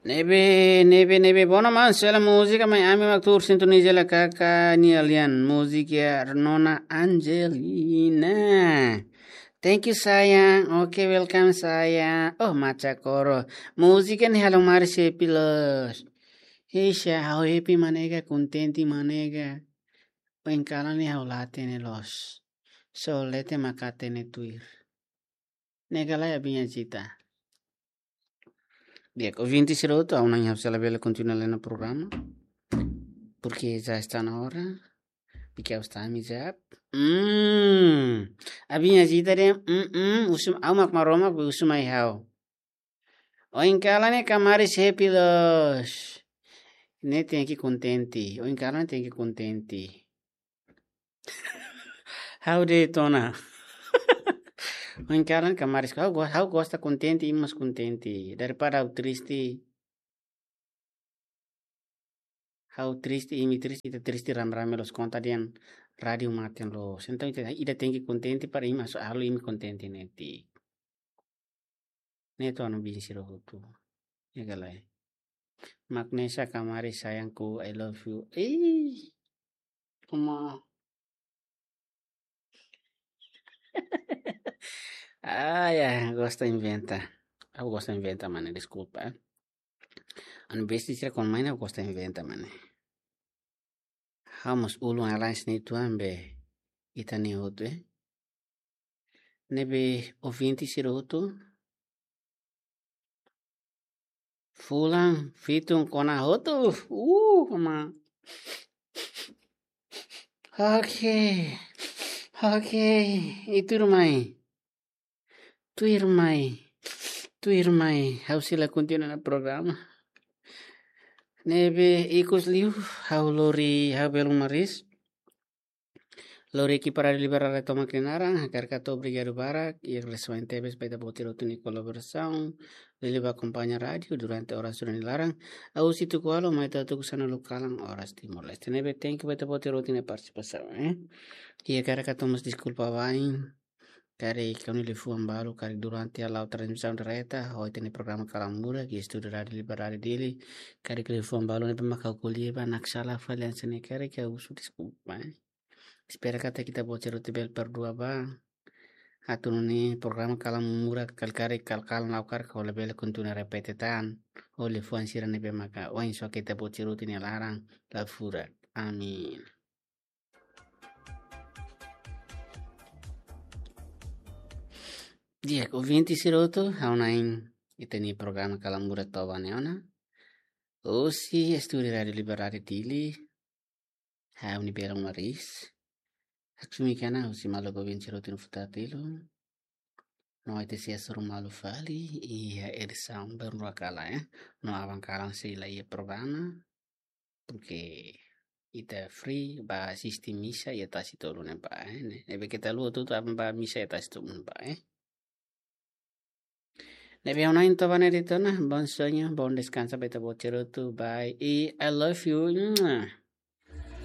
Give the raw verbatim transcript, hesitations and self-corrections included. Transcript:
Ne'ebé, ne'ebé, ne'ebé, bona man, sela múzika, mai ami mak tuur sintoniza hela kaka nia lian, múzika Nona Angelina. Thank you, sayang. Oke, welcome, sayang. Oh, macha koro. Múzika ne'e halo maris happy loos. Isha, ha'u happy mak ne'e ka, kontente mak ne'e ka. Ohin kalan ne'e ha'u la hatene loos. Só leten mak hatene tuir. Ne'e ka lae, Abinha Zita. Di'ak, ouvinte sira hotu, ha'u-nia, ha'u sei labele kontinua hela programa. Porque já está na hora. Porque ha'u está ami já. Hmm. Abinha Zita dehan, hmm, hmm, husu, ha'u mak Maromak, husu mai ha'u. Ohin kalan ne'e ka maris happy loos. Ne'e tenke kontente. Ohin kalan ne'e tenke kontente. Ha'u de'it ona. Ohin kalan ka maris, ha'u go-, ha'u gosta kontente, imi mós kontente. Daripada ha'u triste. Ha'u triste, imi triste, ita triste rame-rame loos, konta dehan rádiu mate loos. Entaun ita, ida tenke kontente para imi, halo imi kontente netik. Ne'e to'o no bin sira hotu. Ya ka lae. Magnesa Kamari sayangku, I love you. Ih, uma. Ah, ya, gosta inventa. Ha'u gosta inventa, mana, deskulpa, eh. Anu besti sira kon main, ha'u gosta inventa, mana. Ha'u mós ulun alais ne'e tuan be ita-nia hotu, eh. Ne'ebé ouvinte sira hotu. Fulan fitun kona hotu. Uh, ma. Oke. Oke. I tuirmai. Tuirmai. Tuirmai. Ha'u sei la kontinua hela programa. Ne'ebé ikus liu, ha'u lori, ha'u belun maris. Lori ekipa Rádiu Liberdade tomak nia naran, hakarak hato'o obrigadu barak, i agradesimentu tebes ba ita-boot sira hotu nia kolaborasaun, liuliu ba akompaña rádiu durante oras ida-ne'e nia laran, husi tuku ualu mai to'o tuku sanulu kalan oras Timor-Leste. Ne'ebé thank you ba ita-boot sira hotu nia partisipasaun, eh. I hakarak hato'o mós deskulpa wa'in, karik ha'u-nia liafuan balu, karik durante ha'u la'o transmisaun direta, ho ita-nia programa Kalamura, iha estúdiu Rádiu Liberdade Dili, karik liafuan balu ne'ebé mak ha'u ko'alia ba, mak sala fali hanesan ne'e, karik ha'u husu deskulpa, eh. Espera katak ita-boot sira hotu bele perdua ba. Atu nune'e programa Kalamura kal-, karik kal-, kalan la'o karik ha'u labele kontinua repete tan. Ho liafuan sira ne'ebé maka ohin só ita-boot sira hotu nia laran la furak. Amin. Di'ak, ouvinte sira hotu, ha'u-nia, ita-nia programa Kalamura to'o ba ne'e ona. Husi estúdiu Rádiu Liberdade Dili, ha'u-nia belun maris, Haksumi Kana, husi maluk ouvinte sira hotu nia futar tilun. No ita sei hasoru malu fali iha edisaun bainrua kalan, eh. No aban kalan sei la iha programa. Porque ita free ba asisti misa iha tasi tolu ne'ebá, eh. Ne'ebé keta haluha hotu-hotu aban ba misa iha tasi tolu ne'ebá, eh. Ne'ebé ha'u-nia entaun ba ne'e de'it ona, bom sonho, bom descanso ba ita-boot sira hotu, bye. I I love you. Mua.